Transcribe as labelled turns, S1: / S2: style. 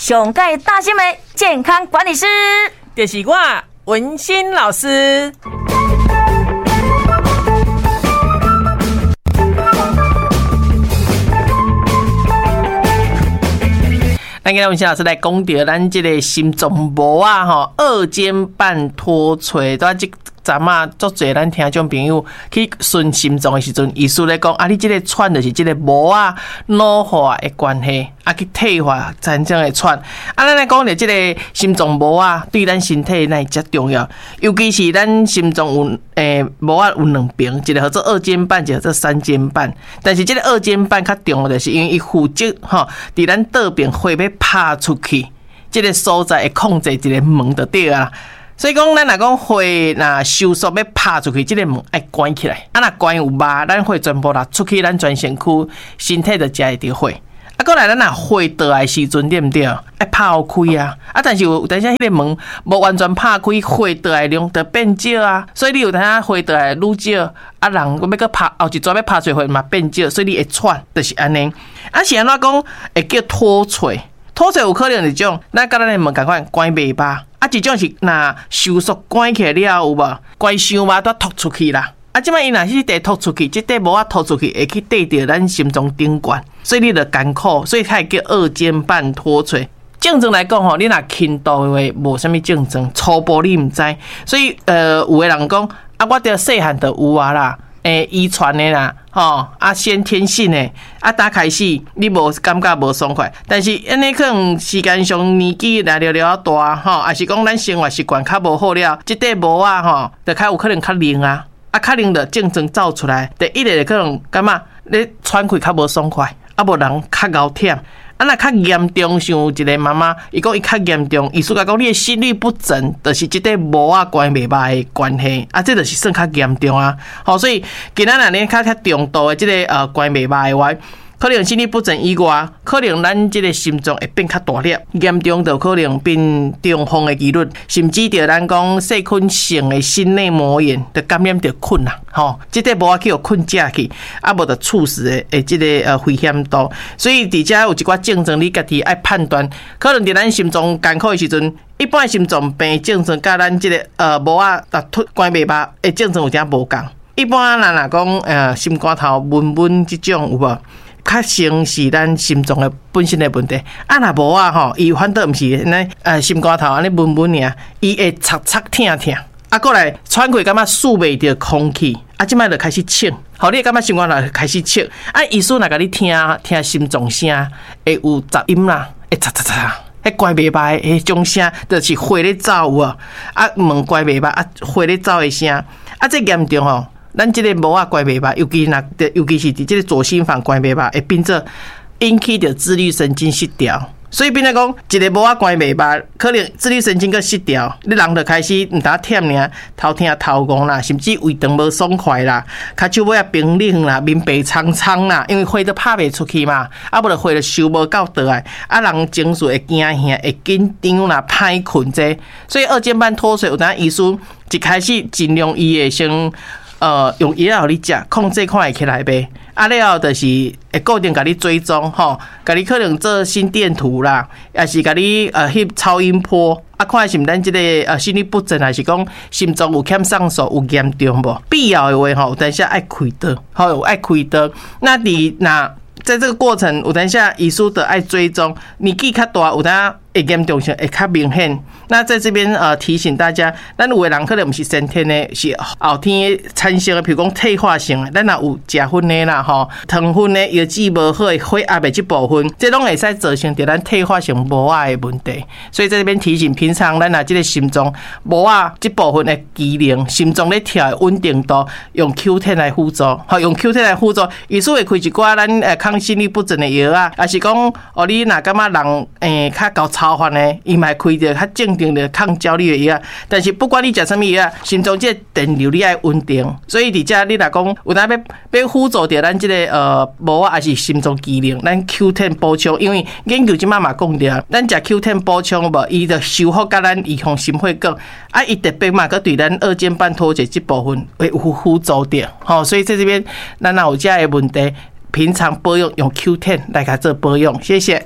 S1: 上蓋貼心的健康管理師，
S2: 就是我文心老師。咱今日文心老師來講著咱這个心臟膜仔吼，二尖瓣脫垂，拄仔這陣仔足濟咱聽眾朋友去巡心臟的時陣，醫師咧講啊，你這个喘就是這个膜仔老化的關係，啊去退化產生的喘。啊，咱來講著這个心臟膜仔對咱身體哪會遮重要？尤其是咱心臟有膜仔有兩爿，一个號做二尖瓣，一个號做三尖瓣。但是這个二尖瓣較重要，就是因為伊負責吼，佇咱倒爿血欲拍出去，這个所在會控制一个門就對啊。所以講，咱若講血若收縮欲拍出去，這个門愛關起來。啊，若關有肉，咱血全部流出去，咱全身軀身體就食會著血。啊，閣來咱若血倒來時陣，對毋對？愛拍予開啊！啊，但是有當時彼个門無完全拍開，血倒來量就變少啊。所以你有當時血倒來愈少，啊，人閣欲閣拍後一逝欲拍出血嘛變少，所以你會喘，就是按呢。啊，是按怎講會叫脫垂？脫垂有可能一種，咱佮咱的門仝款關袂罷。啊，一種是若收縮關起來了有無？關傷密才脫出去啦。啊，這擺伊若是這塊脫出去，這塊無法脫出去，會去綴著咱心臟頂懸，所以你就艱苦，所以才會叫二尖瓣脫垂。症狀來講吼，你若輕度的話，無啥物症狀，初步你毋知。所以有的人講啊，我著細漢就有啊啦。遺傳的啦，吼啊，先天性的，啊，打開始你無感覺無爽快，但是按呢可能時間上年紀來了了大，吼，抑是講咱生活習慣較無好了，這塊膜仔吼，就較有可能較硬啊，啊，較硬就症狀走出來，第一个就可能感覺你喘氣較無爽快，啊，無人較𠢕忝。啊，若較嚴重，像有一个媽媽，伊講伊較嚴重，醫師共講你的心律不整，就是這塊膜仔關袂歹的關係，啊，這就是算較嚴重啊。吼，所以今仔若你較較重度的這个關袂歹的話，可能心律不整以外，可能咱這个心臟會變較大粒，嚴重就可能變中風的幾率，甚至著咱講細菌性的心內膜炎，就感染著菌啦，吼，這塊膜仔去予菌食去，啊無就猝死的這个危險度。所以佇遮有一寡症狀，你家己愛判斷，可能佇咱心臟艱苦的時陣，一般心臟病症狀佮咱這个膜仔脫關袂歹的症狀有點無仝。一般咱若講心肝頭悶悶這種有無？較先是咱心臟的本身的問題，啊，若無啊吼，伊反倒毋是按呢，心肝頭按呢悶悶爾，伊會插插疼疼，啊，閣來喘氣感覺吸袂著空氣，啊，這擺就開始喘，吼，你會感覺心肝頭開始喘，啊，醫師若共你聽聽心臟聲，會有雜音啦，會嚓嚓嚓，彼關袂歹彼種聲，就是血咧走有無？啊，門關袂歹，啊，血咧走的聲，啊，這嚴重吼。咱這个膜仔關袂歹，尤其若，尤其是佇這个左心房關袂歹，會變做引起著自律神經失調。所以變做講，一个膜仔關袂歹，可能自律神經閣失調，你人就開始毋但忝爾，頭疼頭戇啦，甚至胃腸無爽快啦，跤手尾仔冰冷啦，面白蒼蒼啦，因為血都拍袂出去嘛，啊無就血就收無夠倒來，啊人情緒會驚嚇、會緊張啦、歹睏這，所以二尖瓣脫垂有當醫師一開始盡量伊會先。用藥予你食，控制看會起來袂？啊了後就是會固定共你追蹤吼，共你可能做心電圖啦，抑是共你翕超音波，啊看是毋咱這个心律不整，還是講心臟有欠送素有嚴重無？必要的話吼，有當時愛開刀，吼有愛開刀。那佇若在這个過程，有當時醫師就愛追蹤，年紀較大，有當會嚴重性會較明顯。那在這邊提醒大家，咱有的人可能毋是先天的，是後天產生的，譬如講退化性的。咱若有食薰的啦，吼，糖分的、藥劑無好的、血壓的這部分，這攏會使造成著咱退化性膜仔的問題。所以在這邊提醒，平常咱若這个心臟膜仔這部分的機能，心臟咧跳的穩定度，用 Q10 來輔助，吼，用 Q10 來輔助，醫師會開一寡咱抗心律不整的藥啊，抑是講哦，你若感覺人較𠢕操煩的，伊嘛會開著較正定的抗焦慮的藥。但是不管你食啥物藥，心臟這個電流你愛穩定。所以佇遮你若講有當欲輔助著咱這个膜仔，抑是心臟機能，咱 Q10 補充，因為研究這擺嘛講著，咱食 Q10 補充無，伊就修復佮咱預防心血管，啊，伊特別嘛，閣對咱二尖瓣脫垂這部分會有輔助著，吼，所以在這邊咱若有這个問題，平常保養用 Q10 來共做保養，謝謝。